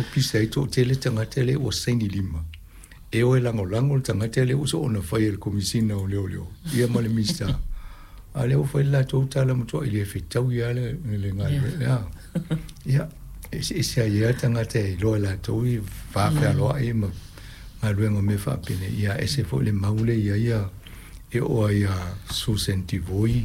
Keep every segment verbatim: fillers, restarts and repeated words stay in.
ua pisa ai toʻatele tagata lea ua saini lima e o e lagolago le tagata lea ua soona faia e le Komisina o Leoleo ia ma le Minisita a lea ua fai le latou tala matuaʻi le fetaui a le le galuega ia eseese ai a tagata e iloa e latou i vafealoaʻi ma galuega mea faapene ia ese foi le mau le ia ia e oo ai ia Susan Devoy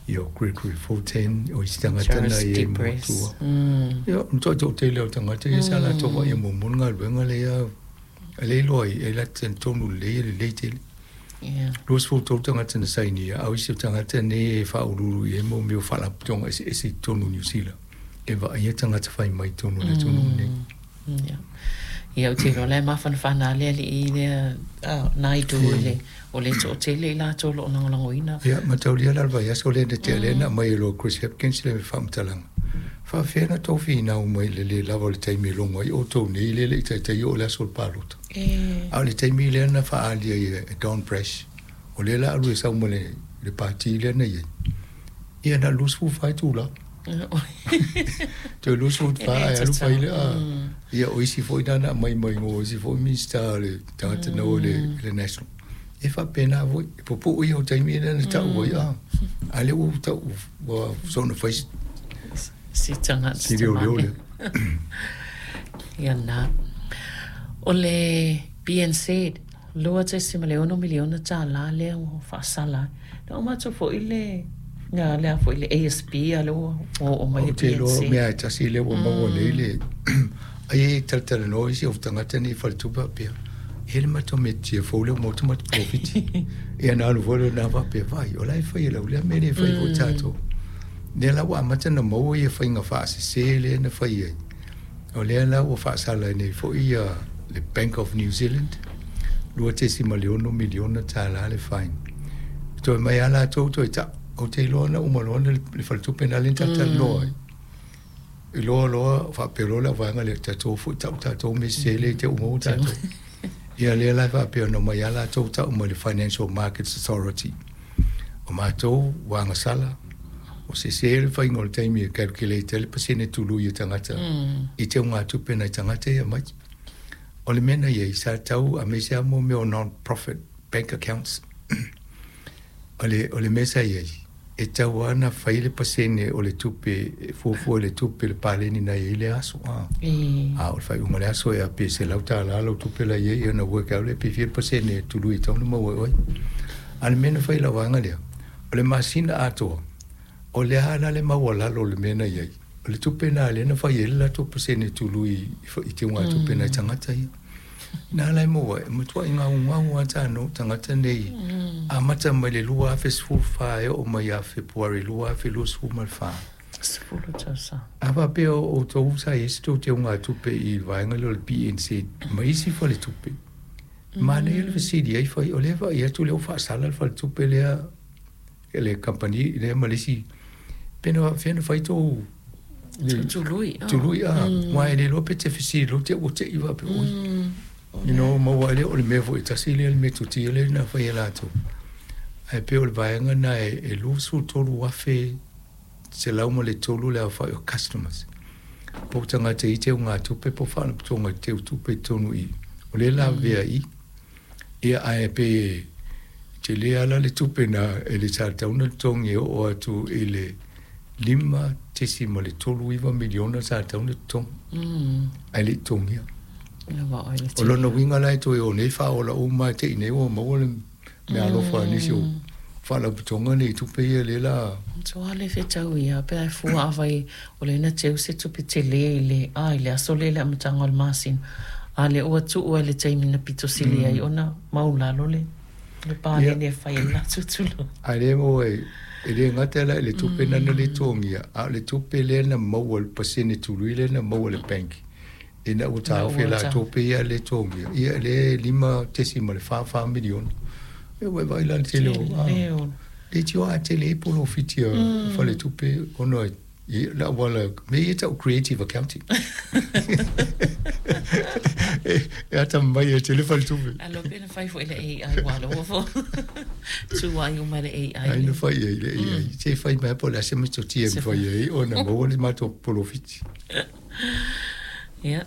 ia o Gregory Fortin o isi tagata na Charles ia i Depress. matua Mm. ia matoʻatoʻatele o tagata ia sa latou vaai muamua le galuega lea e le iloa ai e la talitonu lelei e lelei tele Yeah. luasefulu tolu tagata na sainia a o isi o tagata nei e faaululu i ai mo mea o faalapotopotoga eseese i totonu o Niusila e vaaia tagata fai mai totonu o le atunuu lenei. Mm. Yeah. Ia ou te iloa la e mafanafana le alii lea ah, Naidu i le o le toʻatele i latou o loo lagolagoina. Ia mataulia la le vaiaso lea na tea lea na aumai e loa Chris Hipkins le faamatalaga faafefea na tou finau mai le lē lava o le taimi e logo ai outou nei lea e leʻi taitai oo le aso o le palota E a o le taimi lea na faaalia ai e Don Brash o lea la alu e sau ma le le pati lea na iai ia na luasefulu fa itulā toe luasefulu e fa le ae alu fai tatau. le a Mm. ia o isi foi na na aumai mai o isi foi Minista le tagata na o le le National e faapena foi e pupuʻu ia o taimi lea na taʻu ai a a lea ua taʻu ua soona fai Si tagata si leoleo tamai. lea. Ia na. O le B N Z lua tesima le ono miliona tālā lea ua faasala. Na o matou foi le nga lea foi le A S B a le ua ua oo mai Ou le te iloa B N Z. mea e tasi lea ua maua nei le ai e talatalanoa isi o tagata nei faletupe faapea e le matou metotia fou lea ua maua matou polofiti ia na alu foi lena faapea vai o la e fai e lau lea mea le fai foi tatou lea la ua amata na maua ia faiga faasesē lea na fai ai o lea la ua faasala nei foi ia le Bank of New Zealand lua tesima le ono miliona tālā le fine toe mai a latou toe taʻu ou te iloa na uma loa na le faletupe na le talatalanoa ai iloa loa faapea loa le auvaega lea tatou foi taʻu tatou mea sesē lea i te umaua tatou ia lea la e faapea ona mai a latou taʻu mai le Financial Markets Authority o matou ua agasala o sesē le faiga o le taimi e calculate ai le pasene tului e tagata i teugatupe nai tagata ia mai o le mea na iai sa tau aemaise a mo mea o non profit bank accounts o le o le mea sa iai e tau ana fai le pasene o le tupe e fuafua i le tupe le paleni na iai le aso a E a o le faaiuga o le aso e a pe selau tālā lau tupe la iai ona work out le pe fia le pasene e tului e tau na maua ai oe a le mea na fai i lau vaega lea o le masina atoa o le a la le maualalo o le mea na iai o le tupe na lea na fai ai le latou pasene tului i teugatupe nai tagata ia na ala e maua e matuaʻi gaugau a tanou tagata nei amata mai le lua afe sefulu fa e oo mai ia Fepuari lua afe luasefulu ma le fa. Sefulu tausaga. A faapea o outou sa iai se tou teugatupe i le vaega lea o le B N Z ma isi faletupe manaia le fesili ai fai o lea vaai atu lea ua faasala le faletupe lea le kamupani lea ma le isi pe na faapefea ona fai tou Tului. tului a aua e le iloa pe te fesili loa te ua teʻi faapea oi you know maua ai lea o le mea foi e tasi lea le metotia lea na fai e latou ae pei o le vaega na e e luasefulu tolu afe selau ma le tolu le aofaʻi o customers po o tagata i teugatupe po o faalapotopotoga i teutupe i totonu i o lea la avea i ia ae pe tele ala le tupe na e le sa tatau ona totogi e oo atu i le lima tesima le tolu iva miliona sa tatau ona totogi ae leʻi totogia. Ia wa oi le O lona uiga la e toe o nei faaola uma e teʻi nei ua maua le mea alofa a nisi o faalapotopotoga nei tupe ia lea la. Matua le fetau ia pe ai fua avai o le na teu se tupe tele i le a i le aso le le amataga o le masina. A le ua tuu ai le taimi na pito sili ai ona maulalo le le paleni e fai ai le latou tului. Ae lea maua e e lē gata la i le tupe nana le totogia a o le tupe lea na maua le pasene tului lea na maua le bank ina ua Na taofi e ua ta. latou pe ia le totogia ia le lima tesima le fa fa miliona e ua e vaai la le tele o a Tele o. le tio a tele ai polofiti a faletupe ona i la wala me ia tau creative accounting e e ata mai e tele faletupe. Alo pe na fai foi le A I wa lo fo. Tu ai uma le A I. Ai na fai ai le A I se fai mai po le ase metotia Se e fai ai ona maua le matou polofiti.